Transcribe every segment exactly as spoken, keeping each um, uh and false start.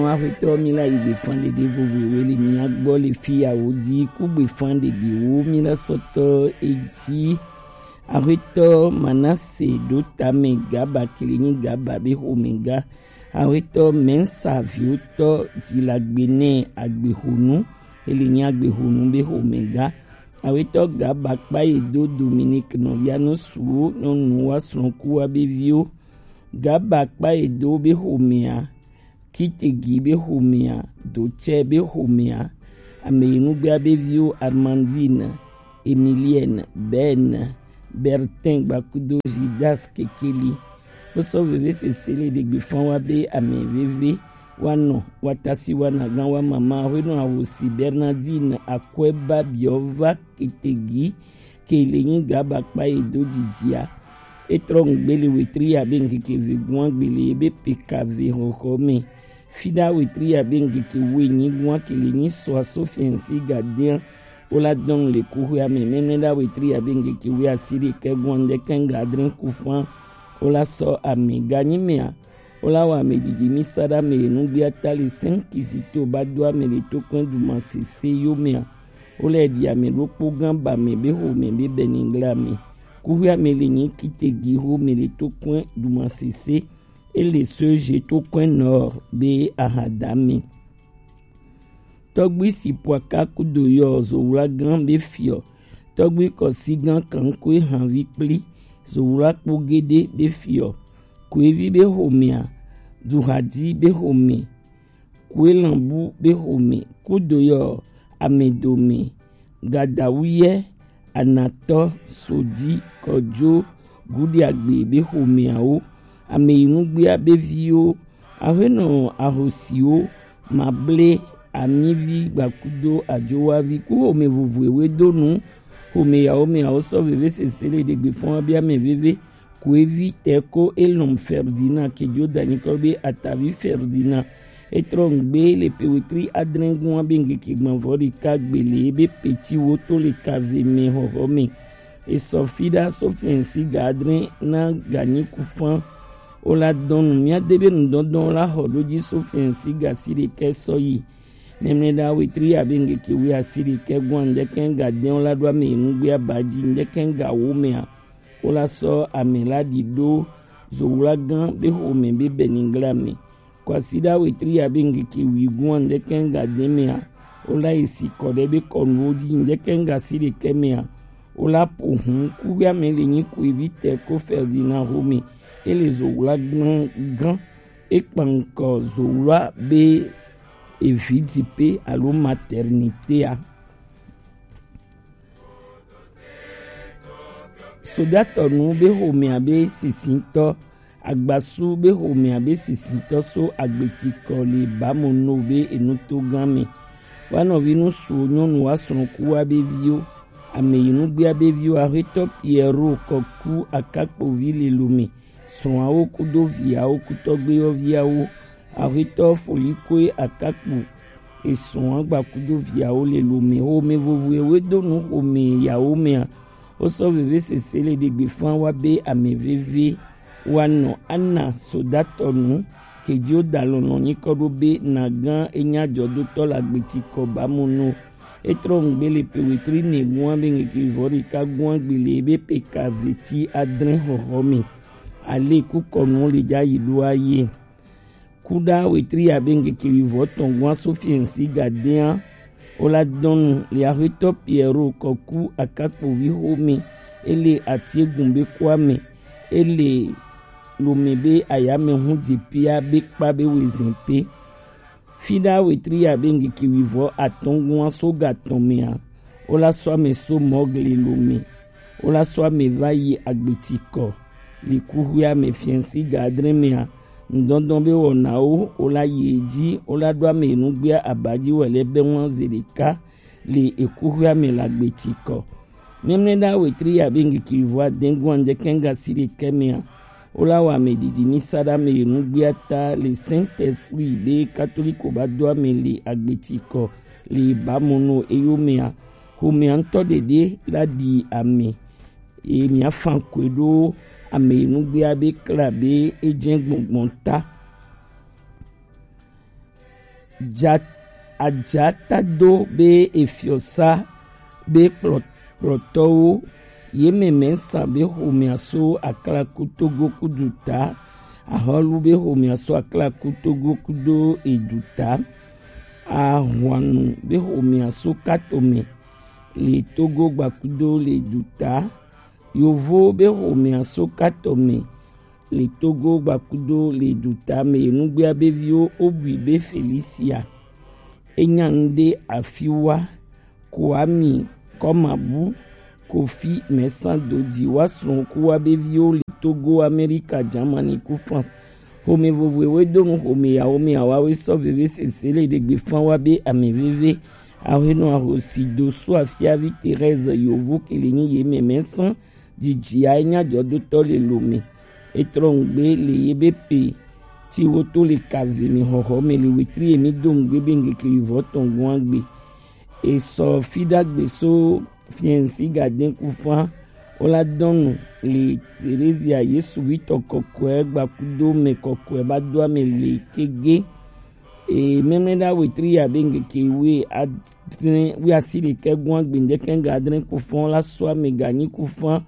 Axwetɔ, mi la yi gbefan ɖeɖe vovo ewe le mia gbɔ le fiya wo di ku gbefan ɖeɖe wo mi la sɔtɔ edi. Axwetɔ Manase ɖo tame Gaba kele nyi Gaba be xomɛga. Axwetɔ Mɛnsa viwotɔ Dzilagbene Agbexonu ele nyi Agbexonu be xomɛga. Axwetɔ Gaba kpa ye do Dominique nɔvia no suwo nyɔnu wa srɔ̃ku wa be viwo. Gaba kpa ye do be xomɛa. Kitegi be xomɛa, Dotsɛ be xomɛa, ame yi nugbea be viwo Armandine, Emilienne, Ben, Bertin gbakudo Judas Kekeli. Wosɔ veve sese le ɖegbe fan wa be ame veve wa nɔ wa tasi wa na gan wa mama hwenu ahosi Bernardine akwɛ ba biɔ va Kitegi ke le nyi Gaba kpa ye do dzidzia. E trɔ ŋgbe le wetri ya be ŋkeke ve gua gbe le ye be peka ve xɔxɔ me. Fida wetri ya be ŋkeke we nyi gua ke le nyi sɔ aso fiɛnsi gadea. Wo la dɔn le kuxia me mɛmɛ da wetri ya be ŋkeke we asi ɖekɛ gua ŋdɛkɛ ŋga adre kufan. Wo la sɔ ame ganyi mea. Wo la wa ame didi mi sa da me ye nugbe ata le sɛn kizito ba do ame le to kɔn duma sese yo mea. Wo lɛ ɖi ame ɖokpo gã ba mɛ be xo mɛ be bɛnigla mɛ. Kuxia mɛ le nyi Kitegi xo mɛ le to kɔn duma sese. E le soje to kɔn nɔ be ahada mɛ. Tɔgbi si pwaka kudo yɔ zowla gã be fiɔ. Tɔgbi kɔsi gã kankue hanvi kpli zowla kpo gede be fiɔ. Kuevi be xo mɛa, duhadi be xo mɛ. Kuelanbu be xome kudo yɔ amedome gadawuyɛ anatɔ sodi kɔjo gudiagbe be xomeawo ameyinugbea be viwo aƒenɔ ahosiwo mable amivi gbakudo ajowavi ku xome vovoewe do nu xome yawo meawo sɔ veve sese le ɖegbe fɔn wa be ame veve Kuevi tɛ ko elɔn Ferdinand kejo danyikɔ be atavi Ferdinand. Etrɔ ŋgbe le pewetri adrɛngun abe ŋgeke gbɔnvɔ ɖeka gbele ebe peti wo to le kave mɛ xɔxɔ mɛ. Esɔ fi ɖa sofiɛnsi ga adrɛn na ganyi kufan. O la dɔn nu mía de be nudɔdɔn la xɔ ɖo dzi sofiɛnsi ga si ɖekɛ sɔ yi. Mɛmlɛ ɖa wetri abe ŋgeke wi asi ɖekɛ gun andɛkɛ ga dɛn o la ɖo ame nugbe aba dzi ndɛkɛ ga wo mɛa. Wo la sɔ ame la ɖi ɖo zowla gã be xome be bɛnigla me. Kwasiɖa wetri ya be ŋgeke wi gún andɛkɛ ŋga dɛn mɛa, wo la yi si kɔ ɖe be kɔnuwo dzi ndɛkɛ ŋga si ɖekɛ mɛa, wo la ƒo hun kuxia me le nyi kuevi tɛ ko Ferdinand xome. E le zowla gã gã. E kpa ŋkɔ zowla be evi dipe alo maternité a. Sodatɔnu be xomea be sisitɔ, agbasu be xomea be sisitɔ so agbetikɔ le bamono be enutogã me. Wa nɔvi nusuwo nyɔnu wa srɔ̃ku wa be viwo, ameyinugbea be viwo, axetɔ Piero kɔku akakpovi le lome, srɔ̃awo kudo viawo kutɔgbeyɔviawo, axetɔ Folikue akakpo esrɔ̃a gbakudo viawo le lome xome vovoewe do nu xome yawo mea. Wo sɔ veve sese le ɖegbe fan wa be ame veve wa nɔ ana sodatɔnu kedio da lɔlɔ nyikɔ ɖo be na gã enya jɔdotɔ la gbeti kɔ ba mo no. Etrɔ ŋgbe le pewetri ne gua be ŋgeke vɔ ɖeka gua gbe le be peka veti adre xɔxɔ me. Ale kukɔnu le dza yi ɖo aye. Kuɖa wetri abe ŋgeke wivɔ tɔn gua sofiɛnsi gadea. Wo la dɔnu le axetɔ Piero kɔku akakpovi xome. Ele atiegun be kua me. Ele lome be ayame hu dze pia be kpa be wezin pe. Fiɖa wetri ya be ŋgeke wivɔ atɔngua so gatɔn mea, wo la sɔ ame so mɔgle lome. Wo la sɔ ame va yi agbetikɔ. Le kuxuia me fiɛnsi ga adre mea, ŋdɔndɔn be wɔnawo wo la yi edzi, wo la ɖo ame nugbea abadzi wɔ le be ŋua ze ɖeka le ekuxuia me le agbetikɔ. Mɛmlɛ ɖa wetri ya be ŋgeke wivɔ adɛngua ŋdɛkɛ ŋga si ɖekɛ mea, wo la wɔ ame ɖiɖi mi sa ɖe ame yi nugbea ta le Saint Esprit be katoliko ba do ame le agbetikɔ le ba mo no eyo mea. Xomea ŋutɔ ɖeɖe la ɖi ame. Eye mia fan koe ɖo ame yi nugbea be kla be edze gbɔngbɔn ta. Ja-, Ajatado be efiɔsa be kplɔ-, kplɔtɔwo, ye mɛmɛ sa be xomɛa so Aklaku Togo kudu ta, Ahɔlu be xomɛa so Aklaku Togo kudo edu ta, Ahwanu be xomɛa so Katome le Togo gbakudo le du ta, Yovo be xomɛa so Katome le Togo gbakudo le du ta me. Nugbea be viwo Obui be Felicia, Enyande Afiwa, Kwami Kɔmabu, Kofi Mɛsan Doji wa srɔ̃kuwa be viwo le Togo, Amerika, Jamani ku France. Xome vovoe we do nu xome yawo me awa we sɔ veve sese le ɖegbe fan wa be ame veve. Ahenɔ ahosi do so afiavi Thérèse Yovo kele nyi ye mɛmɛ sɔn. Jijia enya jɔdotɔ le lo me. Etrɔ ngbe le ye be pe ti wo to le kave mi xɔxɔ me le wetri emi do ngbe be ngeke yuvɔ tɔn gua gbe. Esɔ fidagbe so fiɛnsi gaden kufa. Ola dɔnu le Terezia Yesu wi tɔ kɔkɔɛ gbakudo me kɔkɔɛ ba do ame le kege. E mɛmɛ da wetri ya be ngeke we adre wi asi ɖekɛ gua gbe ndɛkɛ ga adre kufa la so ame ga nyi kufa.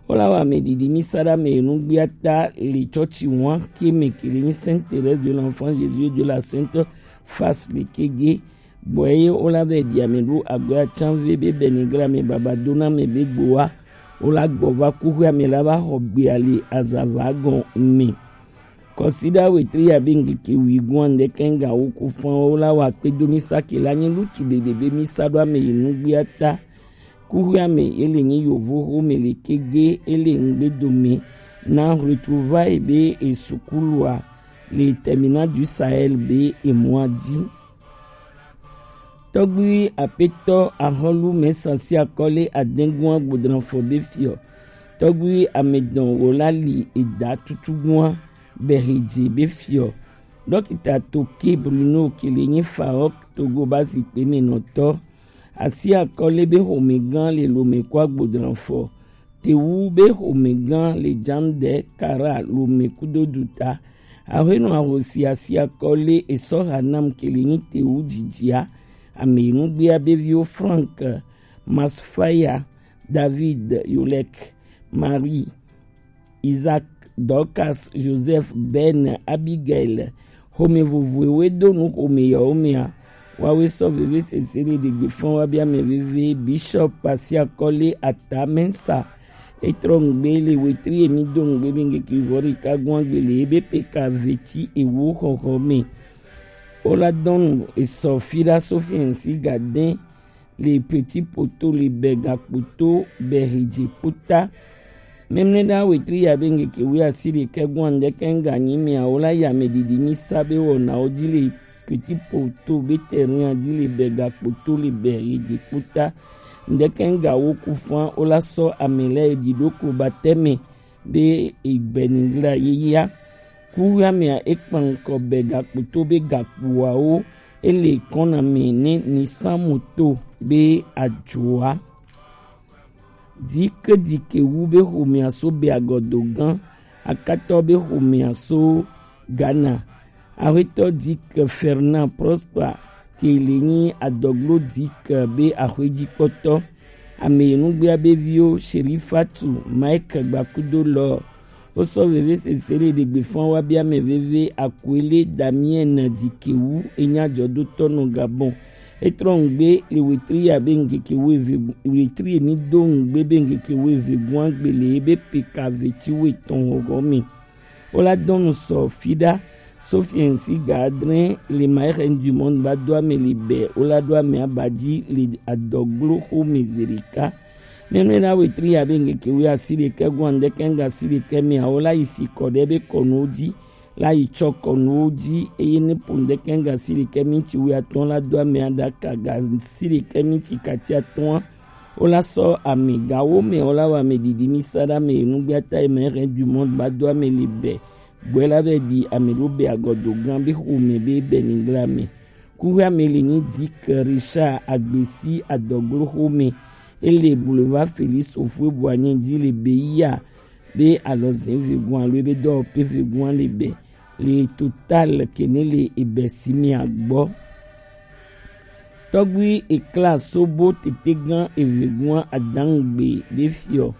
Ola wa me didi mi sa da me nu gbia ta le chɔchi wan ke me kele nyi Sainte Thérèse de l'Enfant Jésus et de la Sainte Face le kege. Gbɔ eye wola vɛ ɖi ame ɖo agbe atsanve be bɛnigla me baba do na me be gbowa. Wola gbɔ va kuxi ame la va xɔ gbea le azava gɔn me. Kɔsiɖa wetri ya be ŋkeke wi gɔn ande kɛŋga wo ku fɔn wola wa kpe do mi sa ke la nye lutu ɖeɖe be mi sa ɖo ame yi nugbia ta. Kuxi ame ele nye yovo xome le kege ele ŋgbe dome na retrouvaille be esukulua le terminal du Sahel be emua di. Tɔgbui apetɔ ahɔlu mɛsa si akɔle adɛngun agbodranfɔ be fiɔ. Tɔgbui amedɔn wola li eda tutugua bɛhedze be fiɔ. Dɔkita Toke Bruno kele nyi Farok Togo ba zikpe me nɔtɔ. Asi akɔle be xomegã le lome kɔ agbodranfɔ. Tewu be xomegã le Jandɛ Kara lome kudo duta. Ahenɔ ahosi asi akɔle esɔ Hanam kele nyi Tewu jijia. Ame nugbea be viwo Frank, Masfaya, David, Yolek, Marie, Isaac, Dorcas, Joseph, Ben, Abigail. Xome vovoewo do nu xome yawo mea. Wawe sɔ veve sese ɖe ɖegbe fɔn wa bia mɛ veve. Bishop asi akɔle ata mɛsa. Etrɔ ŋgbe le wetri emi do ŋgbe be ŋgeke vɔ ɖeka gɔn agbe le ebe peka veti ewo xɔxɔ me. Wola dɔnu esɔ fi ɖa so fiɛnsi gadɛn le Petit Poto le bɛ gakpoto bɛ hedze kpota. Mɛmlɛ ɖa wetri ya be ŋgeke wi asi ɖekɛ gɔn ande kɛŋga nyi mea wola ya me didi mi sa be wɔnawo di le Petit Poto be terrain di le bɛ gakpoto le bɛ hedze kpota. Ande kɛŋga wo ku fan wola sɔ ame lɛ di ɖo klo ba tɛmɛ be egbɛnigla yeyea. Kuxi amea ekpankɔ bɛ gakpoto be gakpoawo ele kɔna me ne nisan moto be ajoa. Dike dike wu be xomea so be agɔdo gã akatɔ be xomea so Ghana. Axwetɔ Dick Fernand Prosper ke le nyi adɔglo Dick be axwejikpɔtɔ. Ame nugbea be viwo Sherifatu Mike Gbakudo lɔ. Wosɔ veve sese le ɖegbe fɔn wa bia mɛ veve Akuele Damien Dikewu enya jɔdotɔ nɔ Gabon. Etrɔ ŋgbe le wetri ya be ŋgeke wo eve, wetri emi do ŋgbe be ŋgeke wo eve gɔn agbe le ebe peka veti wo etɔn xɔxɔ me. Wola dɔnu sɔ fi ɖa. Sofiɛnsi ga adre le Maire du Monde ba do ame le bɛ wola do ame aba di le adɔglo xome zerika. Mɛmlɛ na wetri ya be ŋgeke wi asi ɖekɛ gɔn ande kɛŋga asi ɖekɛ mea wola yi si kɔ ɖe be kɔnuwo di la yi tsɔ kɔnuwo di eye ne po ŋdɛkɛ ŋga si ɖekɛ minti wi atɔ̃ la do ame aɖaka ga si ɖekɛ minti kati atɔ̃a. Wola sɔ ame gawo me wola wɔ ame ɖiɖi mi sa ɖe ame nugbea ta eme hɛn du monde ba do ame le bɛ gbɔe la bɛ ɖi ame ɖo bɛ agɔdo gã be xome be bɛ nigla me. Kuxi ame le nyi Dick Richard Agbesi adɔglo xome. Ele boulevard Félix Houphouët-Boigny di le Beya be alɔze vegun alo ebe dɔwɔƒe vegun le be le Total kene le ebe si mi agbɔ. Tɔgbi ekla sobo tetegan evegun adangbe be fiɔ.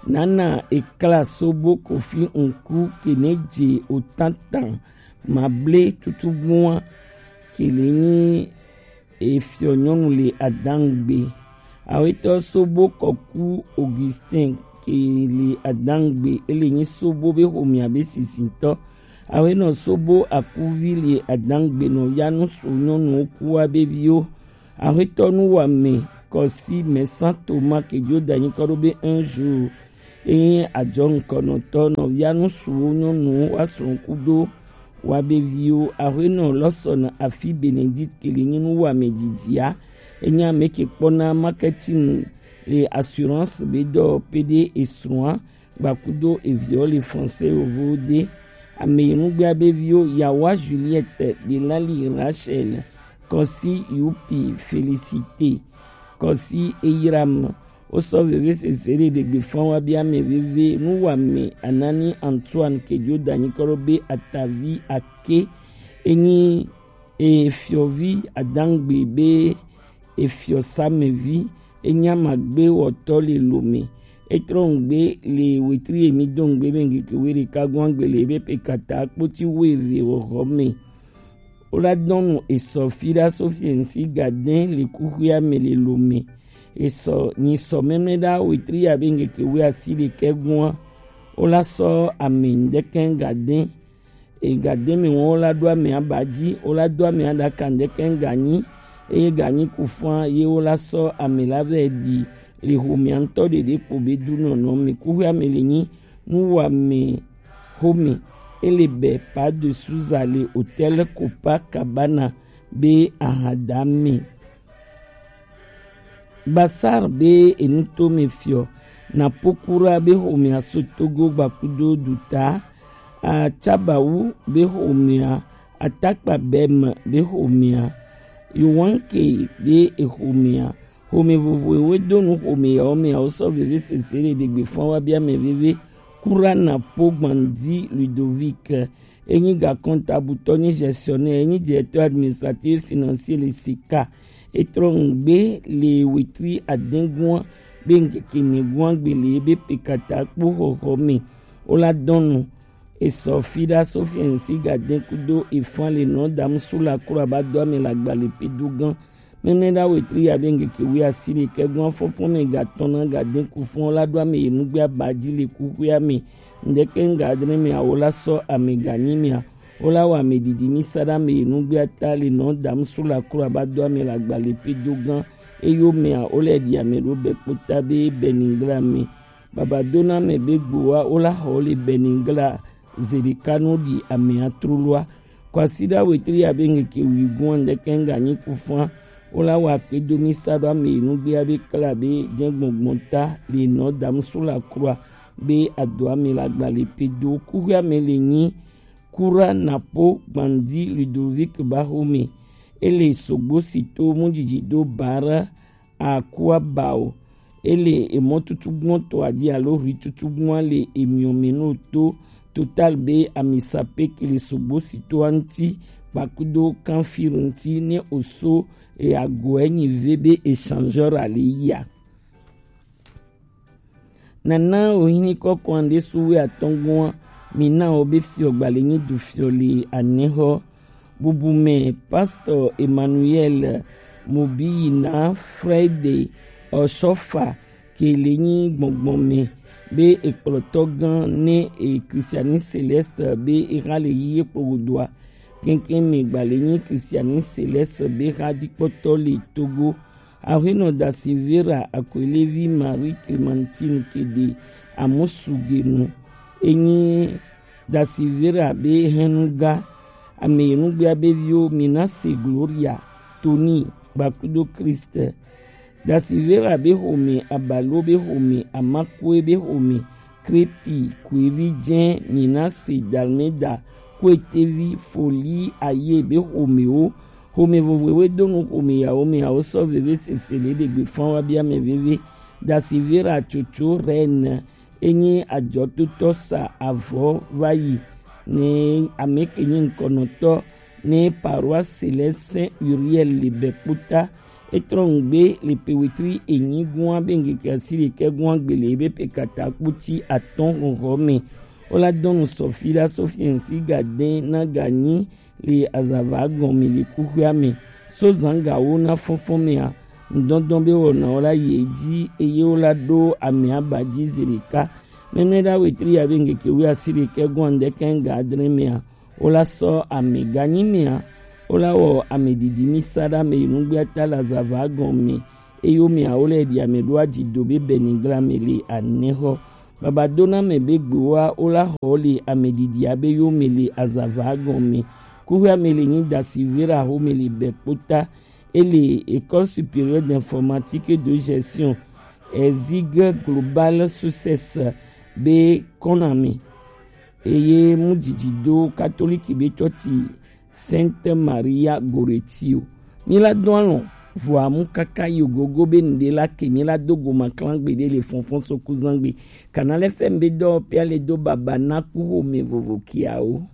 Nana ekla sobo kofi nku keneje otantan mable tutugua kele nyi efiɔ nyɔnu le adangbe. Awetɔ sobo kɔku Augustin kele adangbe ele nyi sobo be homia be sisintɔ. Awenɔ sobo akuvi le adangbe nɔ yanu so nyɔnu okuwa be viwo. Awetɔ nu wa me kɔsi mɛsan toma kejo danyi kɔ ɖo be un jour. Enyi ajɔ ŋkɔnɔtɔ nɔ yanu suwo nyɔnu wa srɔn kudo wa be viwo. Awenɔ lɔsɔ na afi Benedict kele nyi nu wa me jijia. Enyi ame ke kpɔna marketing le assurance be dɔ pede esrɔa gbakudo eviɔ le français yovo de. Ame yi nugbea be viwo yawa Juliette de lali Rachel kɔsi yupi Félicité kɔsi Eyram. Wosɔ veve sese ɖe ɖegbe fɔn wa bi ame veve nu wa me Anani Antoine kejo danyi kɔ ɖo be atavi ake enyi efiɔvi adangbe be efiɔ samevi enya magbe wɔtɔ le lome. Etrɔ ŋgbe le wetri emi do ŋgbe be ŋgeke we ɖeka gɔn agbe le ebe pe kata kpoti wo eve wɔxɔ me. Wola dɔnu esɔ fi ɖa so fiɛnsi gadɛn le kuxuia me le lome. Esɔ nyi sɔ mɛmɛ ɖa wetri ya be ŋgeke we asi ɖekɛ gɔn. Wola sɔ ame ŋdɛkɛ gadɛn Egademe wɔn wola ɖo ame aba dzi, wola do ame aɖaka ŋdɛkɛ ganyi, eye ganyi ku fã ye wola sɔ ame la vɛ ɖi le homea ŋutɔ ɖeɖe kpo be du nɔnɔ me. Kuxuia me le nyi nu wa me home ele bɛ pa de Suza le hôtel Copacabana be ahada me. Basar be enutome fiɔ na pokura be homea so Togo gbakudo duta, Atsabawu be homea, Atakpa Bɛm be homea, Yowanke be ehomea, home vovoe we do nu home yawo mea wo sɔ veve sese le ɖegbe fã wa bia mɛ veve. Kura na po gbandi Ludovic. Enyi gakɔntabutɔ, nyi gestionnaire, enyi directeur administratif financier le sika. Etrɔ ŋgbe le wetri adɛngua be ŋkeke nɛgua gbe le ebe pekata kpo xɔxɔ me. Wola dɔnu esɔ fi ɖa so fiɛnsi gadɛn kudo efan le nɔ dam su la kura ba do ame la gba le pe do gan. Mɛmɛ ɖa wetri ya be ŋkeke wi asi ɖekɛ gɔn afɔfɔn mɛ gatɔn na gadɛn kufɔn la do ame yi nugbe aba dzi le kuxuia me. Ŋdɛkɛ ŋga adre mɛ awo la sɔ ame ganyi mɛ a. Wola wa ame didi mi sa ɖa ame yi nugbe ata le nɔ dam su la kura ba do ame la gba le pe do gan. Eyo mɛ a wole ɖi ame ɖo bɛ kpota be bɛ ningla me. Baba do na ame be gbo wa wola xɔ le bɛ ningla zeɖeka nɔ ɖi ame atroloa. Kwasiɖa wetri ya be ŋkeke wi gɔn ŋdɛkɛ ŋga nyi kufɔn. Wola wa kpe do mi sa ɖo ame yi nugbe ya be kla be jɛn gbɔngbɔn ta le nɔ dam su la kura be ado ame la gba le pe do kuxuia me le nyi kura na po gbandi Ludovic ba xome. Ele sogbo si to mu didi do bara akua bao. Ele emɔ tutugbɔn to adi alo ri tutugbɔn le emiɔ me no to Total be ami sape kele sogbo si to anti kpakudo kanfir nti ne oso e ago enyi ve be échangeur ale ya. Nana ohini kɔkɔn ɖe su we atɔngɔn mi na wo be fiɔ gbale nyi du fiɔ le anexɔ. Bubu mɛ, Pasteur Emmanuel Mobiyina Friday Oshofa ke le nyi gbɔngbɔn mɛ be ekplɔtɔ gan ne e Christianiste Céleste be e xa le yi ye kpo godoa. Kɛnkɛn mɛ gba le nyi Christianiste Céleste be xa dikpɔtɔ le Togo. Ahuenɔ Dasivera Akwelevi Marie Clémentine ke de amusu genu. Enyi Dasivera be hɛnuga, ame yi nugbea be viwo mi na se Gloria, Tony, gbakudo Christ. Dasivera be home, Abalo be home, Amakue be home, Krepi, Kuevi jɛ, mi na se Dalmeda, Kuetevi, Foli, Aye be homewo. Home vovoe we do nu home yawo me yawo sɔ veve sese le ɖegbe fan wa bia mɛ veve. Dasivera Tsotso Reine enyi ajɔtotɔ sa avɔ va yi ne ame ke nyi ŋkɔnɔtɔ ne paroisse Céleste Saint Uriel le bɛ kpota. Etrɔngbe le pe wetri enyi gua be ngeke asiri ke gua gbele be pe kata kputi atɔn honhɔ me. Ola dɔnu sɔfi la sɔfi ensi gaden na ganyi le azava gɔn me le kuxia me. So zanga wo na fɔnfɔn me a. Ndɔndɔn be wɔna ola ye dzi eye ola do ame aba dzi zeleka. Mɛmɛ da wetri ya be ngeke wi asiri ke gua ndeke ga adre me a. Wola sɔ ame ganyi mea, wola wɔ ame didi mi sa ɖe ame yi nugbe ata le azava gɔme, eye wo mea wole ɖi ame ɖo adzido be bɛnigla me le anɛxɔ. Baba do na ame be gbewoa wola xɔ le ame didi abe yo me le azava gɔme. Kuxi ame le nyi dasi vera xo me le bɛ kpota, ele École supérieure d'informatique et de gestion, ezig global success be kɔname. Eye mu dzidzi do katoliki be tɔti Sainte Maria Goretti o. Mi la do alɔn vɔa mu kaka yi ogogo be nuɖe la ke mi la do goma klan gbe ɖe le fɔnfɔn sokuzangbe. Kanal F M be dɔ pia le do baba na ku xome vovo kiawo.